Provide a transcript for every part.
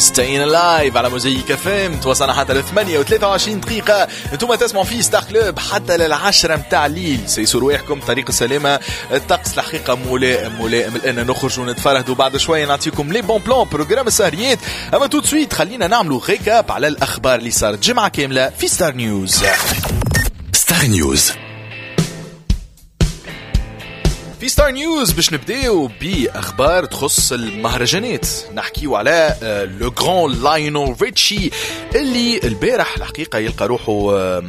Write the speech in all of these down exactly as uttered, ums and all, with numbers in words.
Stayin' Alive على موزايك اف ام. توصلنا حتى ل ثمانية وثلاثة وعشرين دقيقة، انتم تسمعوا في ستار كلوب حتى للعشرة متاع الليل. سيسوا رواحكم، طريق السلامة. الطقس الحقيقة ملائم ملائم الآن نخرج ونتفرهدوا. بعد شوية نعطيكم les bons plans، programme السهريات. اما tout de suite خلينا نعملوا récap على الأخبار اللي صارت جمعة كاملة في ستار نيوز. ستار نيوز. في ستار نيوز باش نبداو باخبار تخص المهرجانات. نحكيو على le grand لايونيل ريتشي اللي البارح الحقيقة يلقى روحه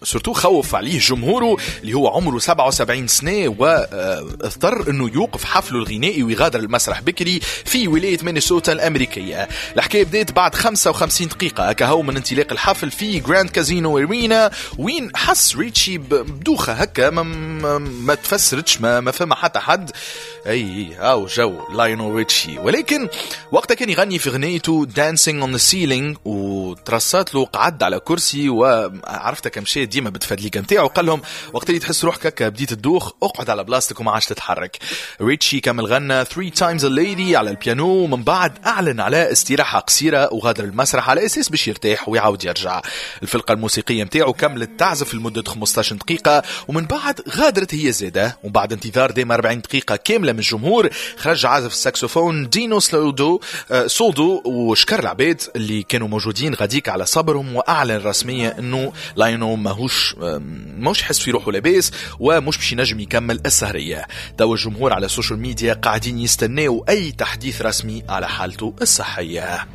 surtout خوف عليه جمهوره، اللي هو عمره سبعة وسبعين سنة واضطر انه يوقف حفلة الغنائي ويغادر المسرح بكري في ولاية مينيسوتا الامريكيه. الحكاية بدات بعد خمسة وخمسين دقيقة كهو من انطلاق الحفل في Grand Casino Arena، وين حس ريتشي بدوخه هكا ما, ما, ما تفسرتش، ما, ما فما حتى حد. اي هاو جو لايونيل ريتشي، ولكن وقتها كان يغني في غنيته Dancing on the Ceiling وترصات له قعد على كرسي، وعرفتها كمشي ديما بتفدليك نتاعو، قال لهم وقت اللي تحس روحك هكا بديت تدوخ اقعد على بلاصتك وما عادش تتحرك. ريتشي كمل غنى three Times a Lady على البيانو، ومن بعد اعلن على استراحة قصيرة وغادر المسرح على اساس باش يرتاح ويعاود يرجع. الفرقة الموسيقية نتاعو كملت تعزف لمدة خمسطاش دقيقة ومن بعد غادرت هي زاده. ومن بعد انتظار دام أربعين دقيقة كاملة من الجمهور، خرج عازف الساكسوفون دينو سلودو آه، سولدو وشكر العباد اللي كانوا موجودين غاديك على صبرهم، واعلن رسميا انه لاينو ماهوش ماهوش حس في روحه لاباس ومش باش ينجم يكمل السهريه. توا الجمهور على السوشيال ميديا قاعدين يستناو اي تحديث رسمي على حالته الصحيه.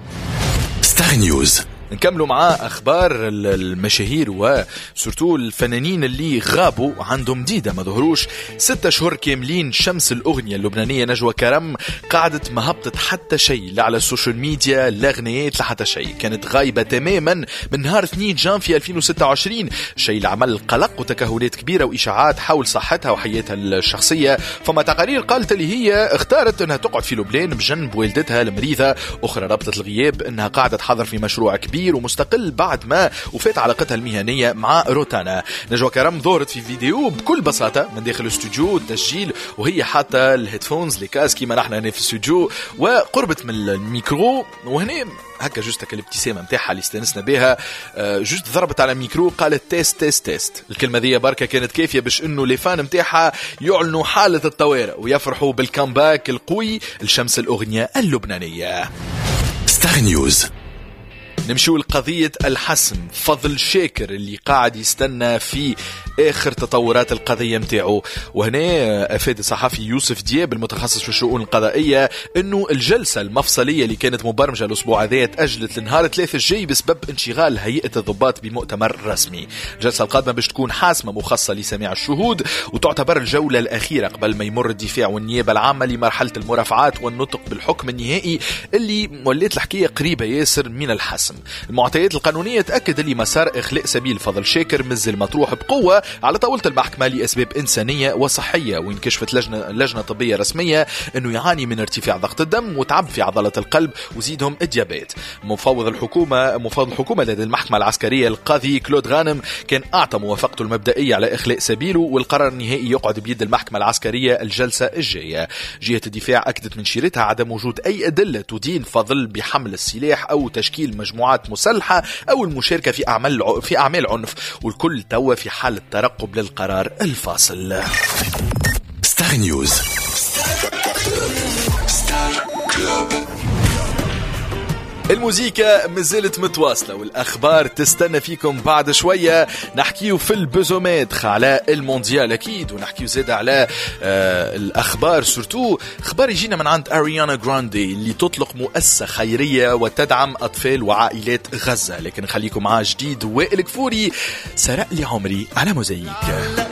ستار نيوز. نكملوا مع اخبار المشاهير و surtout الفنانين اللي غابوا عندهم مديدة ما ظهروش. ستة اشهر كاملين شمس الاغنية اللبنانية نجوى كرم قعدت ما هبطت حتى شيء، لا على السوشيال ميديا، لا غنيات، لا حتى شيء. كانت غايبة تماما من نهار اثنين جانفي ألفين وستة وعشرين، شيء اللي عمل قلق وتكهنات كبيرة واشاعات حول صحتها وحياتها الشخصيه. فما تقارير قالت اللي هي اختارت انها تقعد في لبنان بجنب والدتها المريضه، اخرى ربطت الغياب انها قاعدة تحضر في مشروع كبير كبير ومستقل بعد ما وفات علاقتها المهنية مع روتانا. نجوى كرم ظهرت في فيديو بكل بساطة من داخل الاستوديو التسجيل وهي حاطة ال headphones، les casques، كيما نحن هنا في الاستوديو، وقربت من الميكرو، وهنا هكا juste الابتسامة نتاعها اللي استانسنا بها، آه، juste ضربت على الميكرو قالت test test test. الكلمة ذي بركة كانت كافيه باش انه les fans نتاعها يعلنوا حاله الطوارئ ويفرحوا بال comeback القوي لشمس الاغنية اللبنانيه. ستار نيوز. نمشيو لقضية الحسم، فضل شاكر اللي قاعد يستنى في آخر تطورات القضية متاعه. وهنا أفاد الصحفي يوسف دياب المتخصص في الشؤون القضائية أنه الجلسة المفصلية اللي كانت مبرمجة الأسبوع هذا تأجلت لنهار ثلاثة الجاي بسبب انشغال هيئة الضباط بمؤتمر رسمي. الجلسة القادمة باش تكون حاسمة مخصصة لسماع الشهود، وتعتبر الجولة الأخيرة قبل ما يمر الدفاع والنيابة العامة لمرحلة المرافعات والنطق بالحكم النهائي، اللي ولات الحكاية قريبة ياسر من الحسم. المعطيات القانونية تأكد اللي مسار إخلاء سبيل فضل شاكر مازال مطروح بقوة على طاولة المحكمة لأسباب إنسانية وصحية، وين كشفت لجنة, لجنة طبية رسمية أنه يعاني من ارتفاع ضغط الدم وتعب في عضلة القلب وزيدهم ال diabète. مفوض الحكومة مفوض الحكومة لدى المحكمة العسكرية القاضي كلود غانم كان أعطى موافقته المبدئية على إخلاء سبيله، والقرار النهائي يقعد بيد المحكمة العسكرية الجلسة الجاية. جهة الدفاع أكدت من شيرتها عدم وجود أي أدلة تدين فضل بحمل السلاح أو تشكيل مجموعات مسلحة أو المشاركة في أعمال في أعمال عنف، والكل توا في حالة ترقب للقرار الفاصل. ستار نيوز، ستار كلوب. الموزيكا مازالت متواصلة والأخبار تستنى فيكم. بعد شوية نحكيو في ال buzzomètre على المونديال أكيد، ونحكيو زاد على آه الأخبار، surtout خبر يجينا من عند أريانا جراندي اللي تطلق مؤسسة خيرية وتدعم أطفال وعائلات غزة. لكن خليكم مع جديد وائل كفوري، سرق لي عمري، على موزايك.